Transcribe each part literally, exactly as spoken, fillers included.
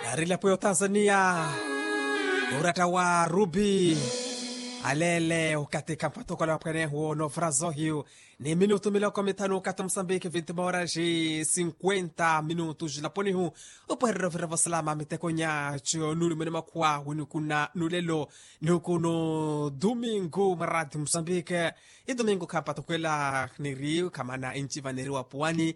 Yaari elapo ya otanzania, oratta wa rubi aleele okathi khampathokola waphwanehu noovura zoohiyu ni minutu miloko mithanu okathi musambiki vinti mooraxi sinkwenta minutu xilaponihu. Opwehererya ovira vosalama mitekonya co nulumene makhuwa winikuna nulelo nikuno dumingu mwa rati musambiki. Idumingu khampathokwela niri khamana enci vaneri wapuwani.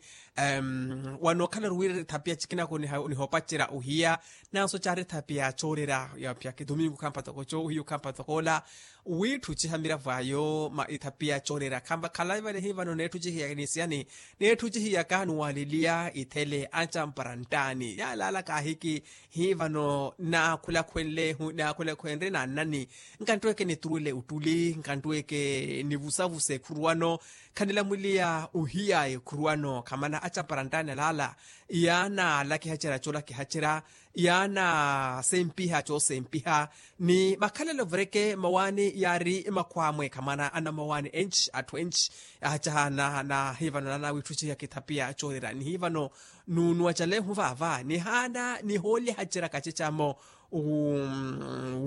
Wanookhala ori wira ethapiya cikinaku nihoopacerya ohiya nanso caari ethapiya coorera. Yapyaka idumingu khampathoko co ohiya okhampathokoola wiitthuciha miravo ayo ethapiya coorera khampakhala ivale hivano neetthucihiya nisiyani neetthucihiyaka nuwaliliya ithele ancampara nttaani yaalala kaahiki. Hivano naakhulakhwenle naakhulakhwenre naannani nkanttweke nituruwele ottuli nkanttweke nivusavuse ekhuruwano. Khanilamwiliya ohiya ekhuruwano khamana acampara nttaani alaala yaana alakihacerya coolakihacerya yaana sempiha coosempiha ni makhalelo vireke mawaani yaari makhwamwe khamana anamawaani enci atthu enci. Ahacaha na hivano naana wiitthuciha kithapiya coorera ni hivano nunuwacalehu vaava nihaana nihoolihacerya kacecamo.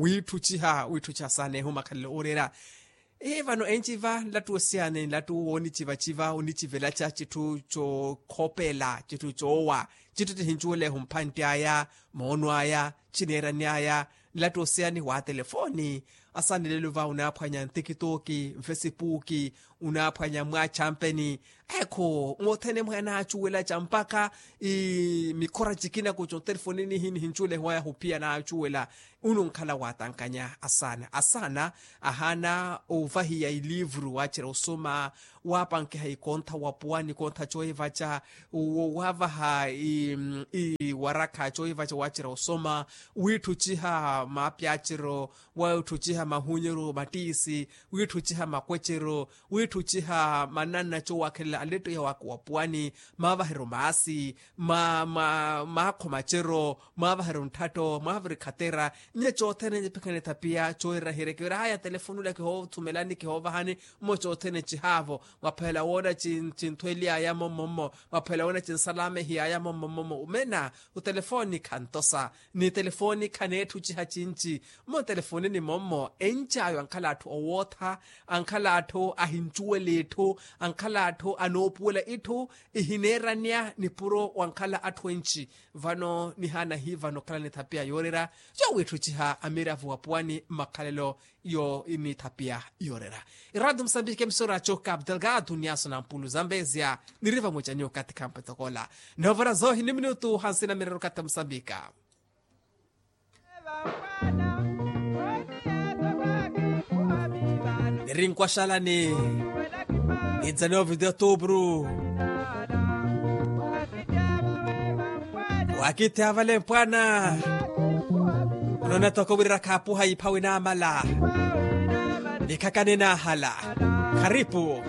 Wiitthuciha wiitthuciha saanehu makhalelo oorera. Hivano enci va nlattu osiyani nlattu woonicivaciva onicivelaca citthu cookhopela citthu coowa citthu tihincuwelehu mphantti aya moono aya cineerani aya. Nlattu osiyani wa telefoni asaanelelo va onaaphwanya ntikitooki nfesipuuki onaaphwanya mwaachampeni ekho mothene mwe anaacuwelaca mpakha mikhora cikinaku cotelefoni nihi nihincuwelehwaya huphiya anaacuwela. Onunkhala waatankanya asaana asaana ahaana ovahiya iliivuru waacerya osoma waapankiha ikontha wapuwani ikontha coohivaca waavaha iwarakha coohivaca waacerya osoma wiitthuciha maapyacero wiitthuciha mahunyeryo mattiisi wiitthuciha makweceryo wiitthuciha mananna coowakhelela alettoiha wapuwani maavaheryo maasi maakho maceryo mwaavaheryo ntthatto mwaaviri khatera. Nnya cothene nipikhanetha piya coorera hirekevira haya telefoni ula kihoothumelani kihoovahani mmo cothene cihaavo mwaphela woona cinthweliyaya mommommo mwaphela woona cinsalamehiyaya mommommo omena otelefoni khantosa ni telefoni khaneetthu ciha cinci. Mmo telefonini mommo enci ayo ankhala atthu owootha ankhala atthu ahincuwela itthu ankhala atthu anoopuwela itthu ihineeranya nipuro wankhala atthu enci. Vano nihaana hivano okhala nithapiya yoorera yowiitthu ciha amiravo wa puwani mmakhalelo yo nithapiya yoorera. Iradio musambiki emisora coka abdelgado niyaso na mpulu zambezia niri vamwecani okathi khampethokola noovora zoohi ni minutu hansina mirero okathi musambika. Niri nkwaxalani ninzani ovidiyo tuupuru wakithi avale mpwana. Unoona toko wira khaapuha ipha winaamala nikhaka ninaahala kharipu.